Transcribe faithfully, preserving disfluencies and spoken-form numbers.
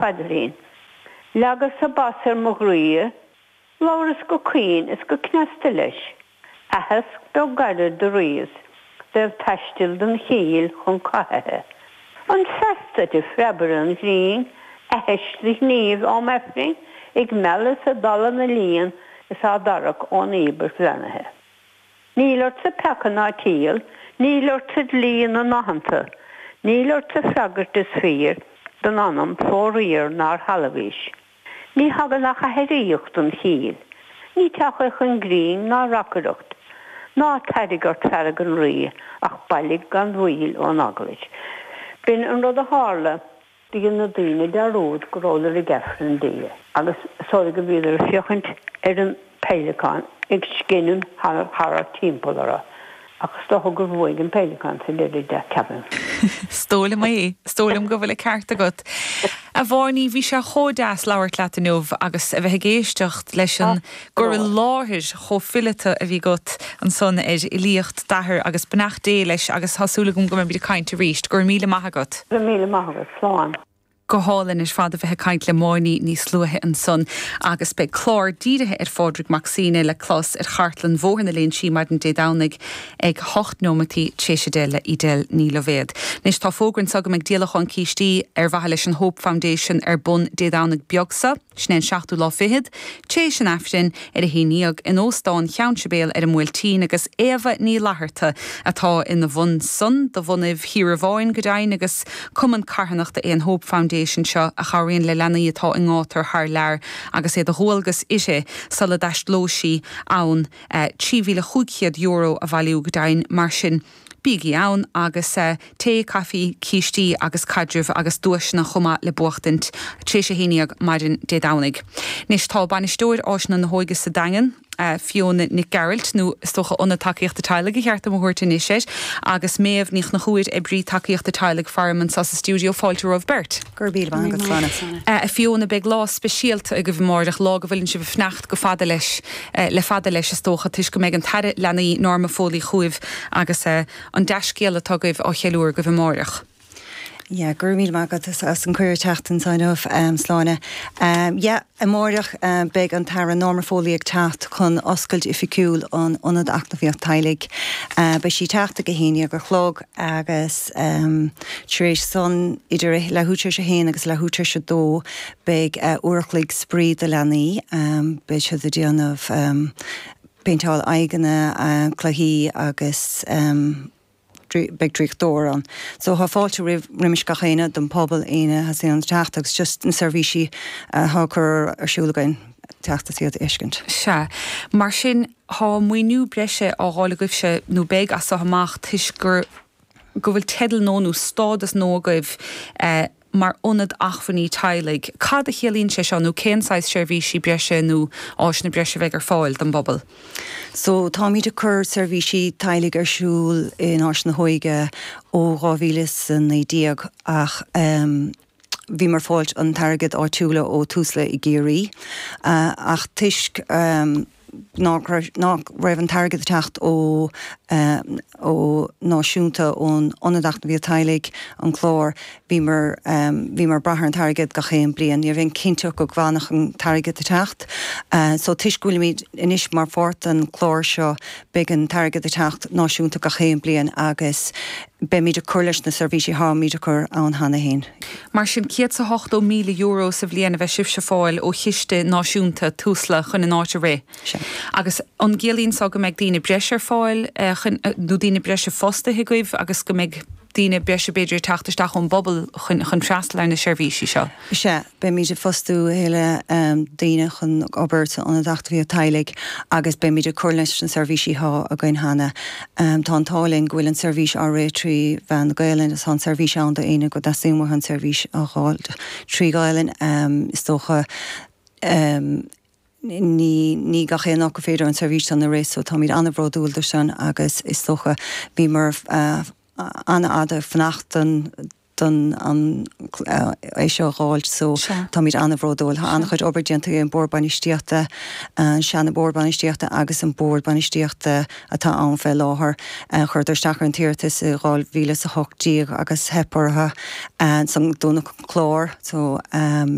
Phaidrín. Leagas-sa bas ar mo ghroí, labhras go caoin is go cneasta leis, aitheasc beag gairid do ríos dtaobh taistil don chill chun cathaithe. An feas duit, a phreabaire an ghrinn, aithisc do ghnímh am Aifrinn ag mealladh is ag dalladh na líon is á dtarrac ón íobairt bheannaithe. Níl ortsa peaca ná triail, níl ortsa dlí na n-aitheanta, níl ortsa freagairt is fíor don anam fó-riar nár thalmhaís. Ní thagann ach aithríocht don chill, ní teach é chun grinn ná reacaireacht. Ná tairg ort fearg an Rí ach bailigh gan mhoill ón eaglais. B'in an rud a tharla. Dhein na daoine dearúd go rabhadar ag Aifreann Dé agus is dóigh go bhíodar ag féachaint ar an bpeileacán ag sceinniú thart timpeall orthu ach is dócha gur bhuaigh an peileacán sa deireadh de, ceapaim. Is dóigh liom é. Is dóigh liom go bhfuil an ceart agat. A Mháiní, bhí sé chomh deas labhairt leat inniu agus a bheith ag éisteacht leis an gcur i láthair chomh fileata a bhí agat ansan ar fhilíocht d'athar agus beannacht Dé leis agus tá súil agam go mbeimid ag caint arís. Go raibh míle maith agat. Go raibh míle maith agat. Slán. Go hálainn ar fad a bheith ag caint le Máiní níos luaithe ansan agus beidh clár dírithe ar Phádraig Mac Suibhne le clos ar chartlann Bhóthar na Léinsí maidin Dé Domhnaigh ag hocht nóimeataí tar éis a deich le Edel Ní Loibhéad. Anois tá fógra anseo go mbeidh díolachán cístí ar mhaithe leis an Hope Foundation ar bun Dé Domhnaigh beag seo. Sin é an seachtú lá fichead, tar éis an Aifrinn ar a haon déag in Óstán Cheann Sibéal ar an mBuailtín agus Éabha Ní Fhlatharta atá ina bhun san de bhunaibh Thír Amháin go deimhin agus cumann carthanachta é an Hope Foundation seo a chabhraíonn le leanaí atá i ngátar thar lear agus é de dhualgas uirthi sula dtaistealóidh sí ann trí mhíle chúig chéad euro a bhailiú go deimhin mar sin. Bígí ann agus tae, caife, cístí agus caidreamh agus duaiseanna chomh maith le buachtaint tar éis a haon déag maidin Dé Domhnaigh. Anois tá bainisteoir Áiseanna na hÓige sa Daingean, Fiona Nic Gearailt nó is dócha Ionad Tacaíochta Teaghlaigh ba cheart dom a thabhairt anois air, agus Méabh Ní Chonchúir, oibrí tacaíochta teaghlaigh faram anseo sa stiúideo fáilte romhaibh beirt. Go raibh míle maith agat, Sláine. A Fiona, beidh lá speisialta agaibh amárach, lá go bhfuileann sibh ag fanacht go fada leis, le fada leis is dócha, toisc go mbeidh an tAire Leanaí Norma Foley chugaibh agus an dea-scéal atá agaibh á cheiliúradh agaibh amárach. Yeah, go raibh míle maith agat as an cuireadh teacht anseo inniu, Sláine. Yeah, amárach beidh an tAire Norma Foley ag teacht chun oscailt oifigiúil an Ionad Eacnamaíocht Teaghlaigh. Beidh sí teacht ag a haon déag a chlog agus tar éis san idir leathuair tar éis a haon agus leathuair tar éis a dó beidh uair a chloig spraoi do leanaí. Beidh siad ag déanamh péinteáil aghaidheanna, cluichí agus beidh draíochtóir ann. So tá fáilte roimh roimis gach éinne don pobal éinne a theastaíonn teacht agus just na seirbhísí atá cur ar siúl againn teacht is iad a fheiscint. Sea. Mar sin tá maoiniú breise á fháil agaibhse nó beidh as seo amach toisc gur go bhfuil teideal nua nó stádas nua agaibh mar ionad acmhainní teaghlaigh. Cad a chiallaíonn sé seo nó cén saghas seirbhísí breise nó áiseanna breise a bheidh ar fáil don bpobal? So táimid ag cur seirbhísí teaghlaigh ar siúl in Áis na hÓige ó dhá mhíle is a naoi déag ach um, bhíomar ag fáilt an t-airgead áitiúla ó Tusla i gCiarraí ach toisc um, nach raibh an t-airgead teacht ó ó náisiúnta ón Ionad Eacnamaíocht Teaghlaigh an clár bhíomar bhíomar ag brath ar an t-airgead gach aon bliain, ní raibh aon cinnteacht go bhfanfadh an t-airgead teacht. So toisc go bhfuilimid anois mar pháirt den chlár seo beidh an t-airgead teacht náisiúnta gach aon bliain agus beimid ag cur leis na seirbhísí atáimid ag cur ann cheana féin. Mar sin céad is ochtó míle euro sa bhliain a bheidh sibhse ag fáil ó chiste náisiúnta Tusla chun an áit a rith. Agus an gciallaíonn seo go mbeidh daoine breise ar fáil nó daoine breise fostaithe agaibh agus go mbeidh daoine breise b'fhéidir teacht isteach ón bpobal chun chun freastal ar na seirbhísí seo. Sea, beimid ag fostú thuilleadh daoine chun obair san Ionad Eacnamaíocht Teaghlaigh agus beimid ag cur leis na seirbhísí atá againn cheana. Tá an t-ádh linn go bhfuil an seirbhís á rith trí mheán na Gaelainne, tá an seirbhís ann do éinne go dteastaíonn uathu an seirbhís a fháil trí Ghaelainn. Is dócha ní ní gach aon áit gur féidir an seirbhís san a rith, so táimid an-bhródúil de sin agus is dócha bhíomar an-fhada ag fanacht don don an é seo fháil so táimid an-bhródúil tá an-chuid obair déanta an bord bainistíochta an seana bord bainistíochta agus an bord bainistíochta atá ann fé láthair chuireadar isteach ar an t-iarratas i dhá mhíle is a hocht déag agus theip orthu san dúnadh clár so um,